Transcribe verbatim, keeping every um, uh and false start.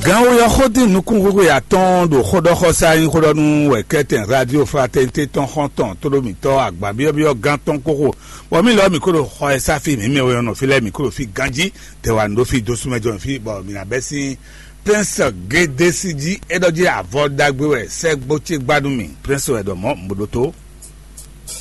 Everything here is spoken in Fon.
Gan oyɔ xódin nukúnxwéxwe atɔ́ɔ́n ɖo xóɖɔxɔsá nyí xóɖɔnú wɛ kɛ́tɛn Radio Fraternité tɔn xɔ́ntɔn tóɖómítɔ́ agbǎnbyɔ́byɔ́ gán tɔn kóxo, bɔ mì lɔ mǐ kó ɖo xɔ ɛ sáfí mǐ mɛ oyɔnɔ fí lɛ́ɛ mǐ kó ɖo fí ganjí. Tɛwa nǔ ɖó fí dó súnmɛjɔ fí bɔ mǐ ná bɛ́ sín Prince Gédesi jí. É ɖɔ jí avɔ ɖagbe wɛ sɛ́gbó ce gbá nú mì. Prince wɛ ɖɔ mɔ̌ un bo ɖótó.